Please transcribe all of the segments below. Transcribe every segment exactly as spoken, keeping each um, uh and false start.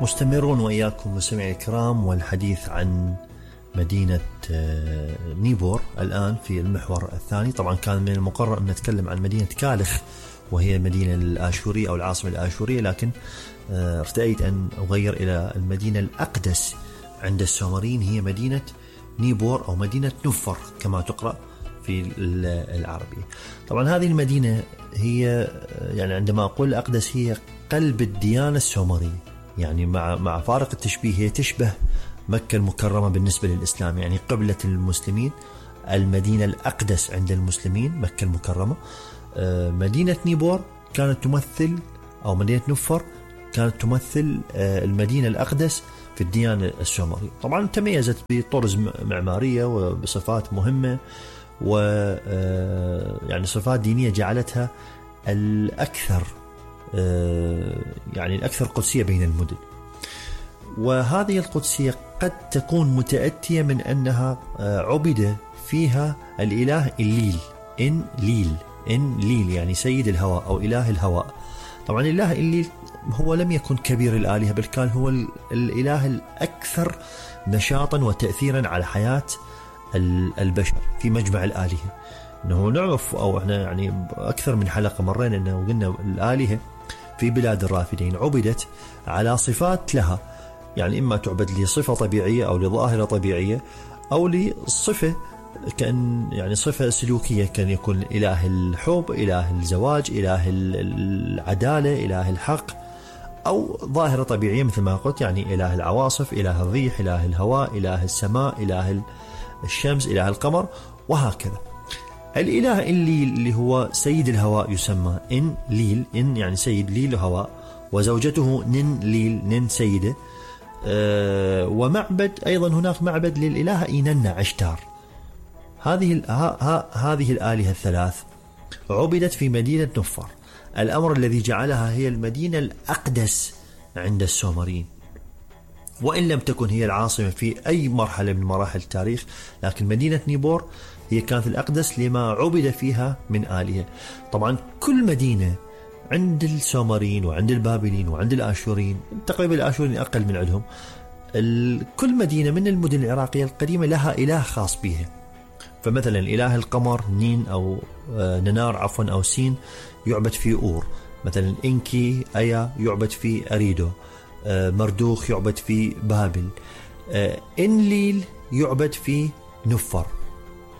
مستمرون وإياكم مستمعي الكرام والحديث عن مدينة نيبور الآن في المحور الثاني. طبعا كان من المقرر أن نتكلم عن مدينة كالخ وهي المدينة الآشورية أو العاصمة الآشورية، لكن ارتأيت أن أغير إلى المدينة الأقدس عند السومريين، هي مدينة نيبور أو مدينة نفر كما تقرأ في العربية. طبعا هذه المدينة هي يعني عندما أقول الأقدس هي قلب الديانة السومرية، يعني مع مع فارق التشبيه هي تشبه مكة المكرمة بالنسبة للإسلام، يعني قبلة المسلمين المدينة الأقدس عند المسلمين مكة المكرمة. مدينة نيبور كانت تمثل أو مدينة نفر كانت تمثل المدينة الأقدس في الديانة السومرية. طبعا تميزت بطرز معمارية وبصفات مهمة و يعني صفات دينية جعلتها الأكثر يعني الأكثر قدسية بين المدن. وهذه القدسية قد تكون متأتية من أنها عبد فيها الإله الليل، إن ليل إن ليل يعني سيد الهواء أو إله الهواء. طبعا الإله الليل هو لم يكن كبير الآلهة، بل كان هو الإله الأكثر نشاطا وتأثيرا على حياة البشر في مجمع الآلهة. إنه نعرف أو إحنا يعني أكثر من حلقة مرينا إنه قلنا الآلهة في بلاد الرافدين عبدت على صفات لها، يعني إما تعبد لصفة طبيعية أو لظاهرة طبيعية أو لصفة كأن يعني صفة سلوكية، كان يكون إله الحب، إله الزواج، إله العدالة، إله الحق، أو ظاهرة طبيعية مثل ما قلت يعني إله العواصف، إله الريح، إله الهواء، إله السماء، إله الشمس، إله القمر، وهكذا. الإله الليل اللي هو سيد الهواء يسمى إن ليل، إن يعني سيد ليل هواء، وزوجته نن ليل نن سيدة. أه ومعبد أيضا هناك معبد للإله إيننا عشتار. هذه هذه الآلهة الثلاث عبدت في مدينة نفر، الأمر الذي جعلها هي المدينة الأقدس عند السومريين، وإن لم تكن هي العاصمة في أي مرحلة من مراحل التاريخ، لكن مدينة نيبور هي كانت الأقدس لما عبد فيها من آلهة. طبعا كل مدينة عند السومريين وعند البابليين وعند الآشوريين، تقريبا الآشوريين أقل من عندهم، كل مدينة من المدن العراقية القديمة لها إله خاص بها. فمثلا إله القمر نين أو ننار عفوا أو سين يعبد في أور، مثلا إنكي أيا يعبد في أريدو، مردوخ يعبد في بابل، إنليل يعبد في نفر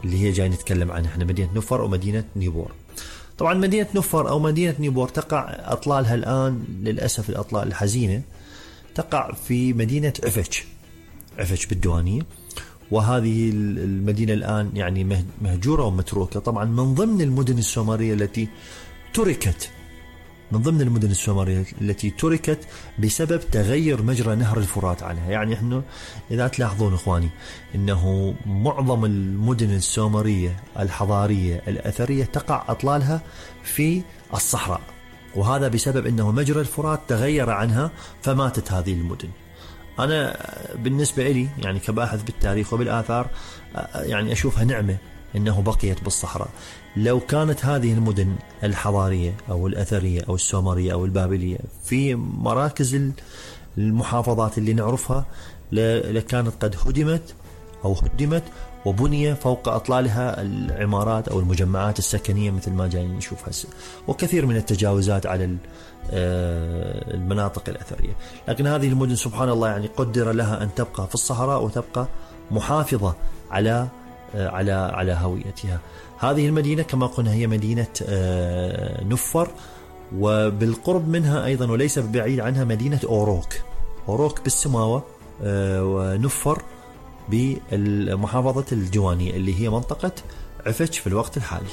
اللي هي جاي نتكلم عنها احنا، مدينة نفر ومدينة نيبور. طبعا مدينة نفر أو مدينة نيبور تقع أطلالها الآن للأسف الأطلال الحزينة تقع في مدينة عفش عفش بالديوانية، وهذه المدينة الآن يعني مهجورة ومتروكة. طبعا من ضمن المدن السومرية التي تركت من ضمن المدن السومرية التي تركت بسبب تغير مجرى نهر الفرات عنها. يعني احنا إذا تلاحظون إخواني إنه معظم المدن السومرية الحضارية الأثرية تقع أطلالها في الصحراء، وهذا بسبب إنه مجرى الفرات تغير عنها فماتت هذه المدن. أنا بالنسبة لي يعني كباحث بالتاريخ وبالآثار يعني أشوفها نعمة إنه بقيت بالصحراء. لو كانت هذه المدن الحضارية أو الأثرية أو السومرية أو البابلية في مراكز المحافظات اللي نعرفها لكانت قد هدمت أو هدمت وبني فوق أطلالها العمارات أو المجمعات السكنية مثل ما جاي نشوف هسه، وكثير من التجاوزات على المناطق الأثرية. لكن هذه المدن سبحان الله يعني قدر لها أن تبقى في الصحراء وتبقى محافظة على على على هويتها. هذه المدينة كما قلنا هي مدينة نفر، وبالقرب منها أيضا وليس بعيد عنها مدينة أوروك أوروك بالسماوة، ونفر بالمحافظة الجوانية اللي هي منطقة عفش في الوقت الحالي.